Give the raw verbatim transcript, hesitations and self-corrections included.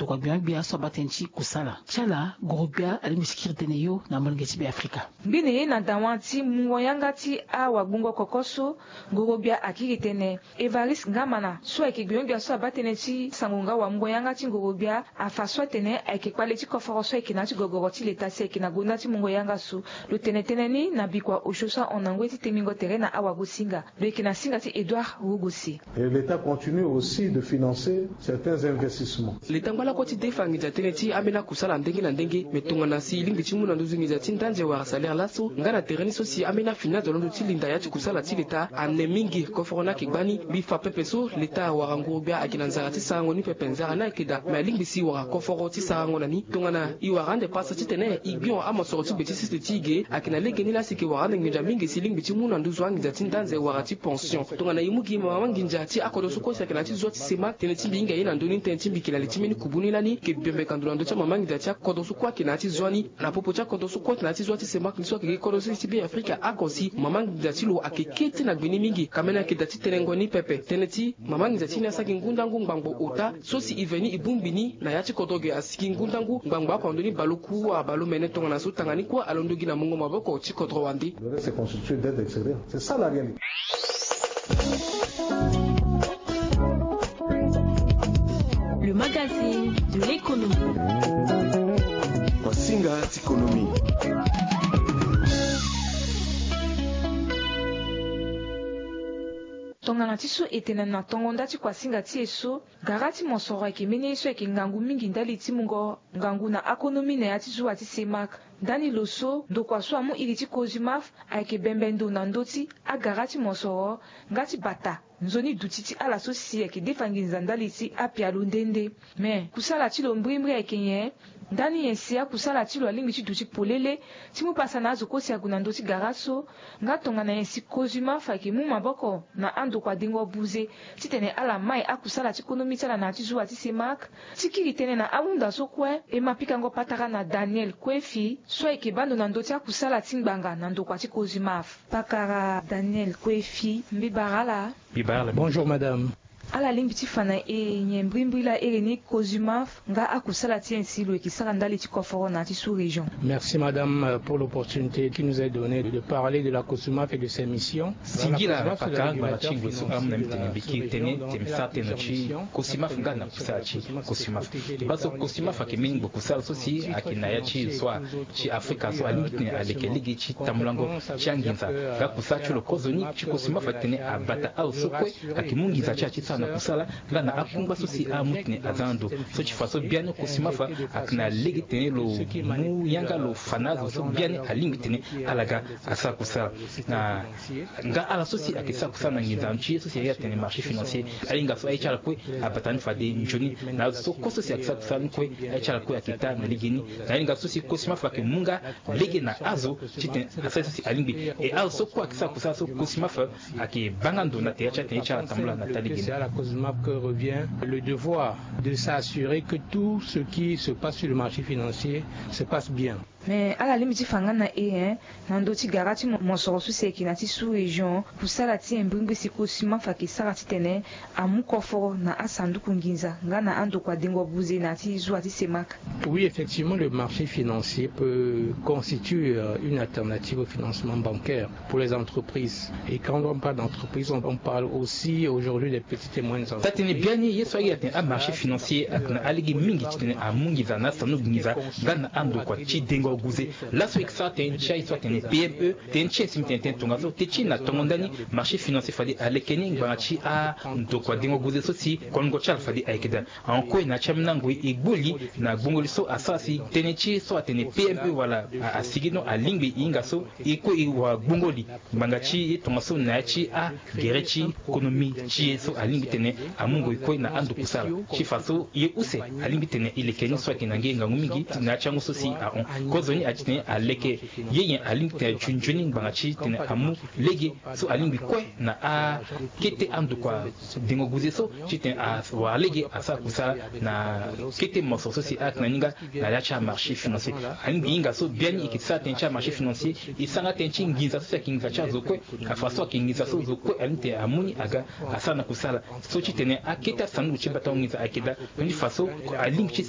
Wa gbia gbia so abaa tënë ti kusala ti ala, ngoro-gbia alingbi ti kiri tënë yo na molenge ti Beafrika. Ngbene ye na dawa ti mungo yanga ti awagbungo koko so, ngoro-gbia akiri tënë Évariste Ngamana so ayeke gbia gbia so abaa tënë ti sango nga wamungo yanga ti ngoro-gbia, afa so atene ayeke kpale ti koforo so ayeke na ya ti gogoro ti leta si ayeke na gonda ti mungo yanga so. Lo tene tënë ni na bikua osio so ahon na ngoi ti tengbingo tere na awagosinga. Lo yeke na singa ti Édouard Rogosi. Et l'État continue aussi de financer certains investissements. Leta ngba lakue ti defa nginza tënë ti ambeni akusala ndenge na ndenge. Me tongana si e lingbi ti mu na nduzu nginza ti ndanze wala salaire laso nga na tere ni so si ambeni afini azo londo ti linda ya ti kusala ti leta ane mingi koforo ni ayeke gbani. Mbi fa pepe so leta wala nguru-gbia ayeke na nzara ti sarango ni pepe, nzara ni ayeke daa. Me alingbi si wala koforo ti sarango na ni tongana e wara ande pasa titene e gbio amosoro ti be ti sese ti e ge. Ayeke na legeni laa si e ke wara ande nginza mingi si e lingbi ti mu na nduzu anginza ti ndanze wala ti pension. Tongana e mu gi mama nginza ti akodro so kue si ayeke na ya ti zua ti semak, tënë ti mbi hinga ye na ndö ni, tënë ti mbi yeke na li ti mbeni kubu ni lani, e ke bembeka ndo na ndö ti amama nginza ti akodro so kue ayeke na ya ti zua ni. Na popo ti akodro so kue ayeke na ya ti zua ti semak ni so ayeke gi kodro so ti Beafrika oko si mama nginza ti lo ayeke kete na gbe ni mingi. Kamene ayeke daa ti tenengo ni pepe. Tënë ti mama nginza ti ni asara gi ngundangu ngbangbo ota so si e ve ni e bongbi ni na ya ti kodro ge, asigi ngundangu ngbangbo oko na ndö ni baleoku wala baleomene tongana so tanga ni kue alondo gi na mungo maboko ti kodro wande. Le reste est constitué d'aide extérieure. C'est ça la réalité. Le magazine de l'économie. Masinga ti économie. Tongana ti so e tene na tongo nda ti kuasinga ti e so, gara ti mosoro ayeke mbeni ye so ayeke ngangu mingi ndali ti mungo ngangu na akonomi na ya ti zuwa ti semak. Ndani lo so, ndokua so amu iri ti Cosumaf ayeke bembe ndo na ndö ti agara ti mosoro nga ti bata nzoni duti ti ala so si ayeke defa nginza ndali ti apialo nde nde. Me kusala ti lo mbrimbri ayeke nyen? Ndani nyen si akusala ti lo alingbi ti duti polele ti mu pasa na azo kue si ague na ndö ti gara so? Nga tongana nyen si Cosumaf ayeke mu maboko na andokua dengo buze titene ala mai akusala ti konomi ti ala na ya ti zuwa ti semak? Ti kiri tënë na ahunda so kue, e ma pikango patara na Daniel Kuefi so ayeke baa ndo na ndö ti akusala ti ngbanga na ndokua ti Cosumaf. Pakara Daniel Kuefi, mbi bara ala. Mbi bara ala. Bonjour madame. Ala lingbi ti fa na e nyen mbrimbri laa iri ni Cosumaf nga akusala ti e si lo yeke sara ndali ti koforo na ya ti sous-région? Merci madame, euh, pour l'opportunité qui nous est donnée de parler de la Cosumaf et de ses missions. Singila pakara ngbanga ti ngoi so amu na mbi tene mbi kiri tënë ti mbi sara tënë ti Cosumaf nga na kusala ti Cosumaf. Baa so Cosumaf ayeke mbeni ngbo kusala so si ayeke na ya ti so ti Afrika so alingbi titene aleke lege ti tambulango ti anginza. Nga kusala ti lo kozoni ti Cosumaf atene abata azo so kue ayeke mu nginza ti ala ti sara na kusala nga na akungba so si amu titene aza na ndo. So ti fa so biani Cosumaf ayeke na lege titene lo mu yanga lo fa na azo so biani alingbi titene ala ga asara kusala. Na nga ala so si ayeke sara kusala na nginza ti ye so si aye atene marché financier, ahinga so aye ti ala kue abata ni fade nzoni. Na azo so kue so si ayeke sara kusala ni kue, aye ti ala kue ayeke taa na lege ni. Na ahinga so si Cosumaf ayeke mu nga lege na azo titene asara ye so si alingbi. E azo so kue ayeke sara kusala so Cosumaf ayeke baa nga ndo na tere ti atene ye ti ala tambula na taa lege ni. C'est à la Cosumaf que revient le devoir de s'assurer que tout ce qui se passe sur le marché financier se passe bien. Me ala lingbi ti fa nga na e, hein, na ndö ti gara ti mo- mosoro so si ayeke na ya ti sous-région, kusala ti e mbrimbri si Cosumaf ayeke sara titene amu koforo na asanduku nginza nga na andokua dengo buze na ya ti zuwa ti semak. Oui, effectivement, le marché financier peut constituer, euh, une alternative au financement bancaire pour les entreprises. Et quand on parle d'entreprise, on, on parle aussi aujourd'hui des petites et moyennes entreprises. Taa-tënë biani ye so aye atene amarché financier ayeke na alege mingi titene amu nginza na asanduku nginza nga na andokua ti dengo guze. Laso e yeke sara tënë ti aye so atene P M E, tënë ti aye si mbi tene tënë tongaso, tënë ti e na tongo ndani, marché financier fade aleke ni ngbanga ti andokua dengo guze so si kolongo ti ala fade ayeke daa. Ahon kue na ya ti ambeni angoi e gbo li na gbongoli so asara si tënë ti so atene P M E wala a- asigi no alingbi e hinga so e kue e wara gbongoli ngbanga ti e tongaso na ya ti agere ti konomi ti e so alingbi tene amu ngoi kue na ando kusala. Ti fa so ye use alingbi tene e leke ni so ayeke na nge ngangu mingi na ya ti angu so si ahon. Kozoni aye titene aleke ye nyen alingbi tene aye nzoni ngbanga ti tene amu lege so alingbi kue na akete andokua dengo guze so titene awara lege asara kusala na kete mosoro so si ayeke na ni nga na ya ti amarché financier. Alingbi hinga so biani e yeke sara tënë ti amarché financier, e sara nga tënë ti nginza so si ayeke nginza ti azo kue. Afa so ayeke nginza so zo kue alingbi tene amu ni aga asara na kusala so titene akete asanduku ti batango nginza ayeke daa. Ni fa so alingbi ti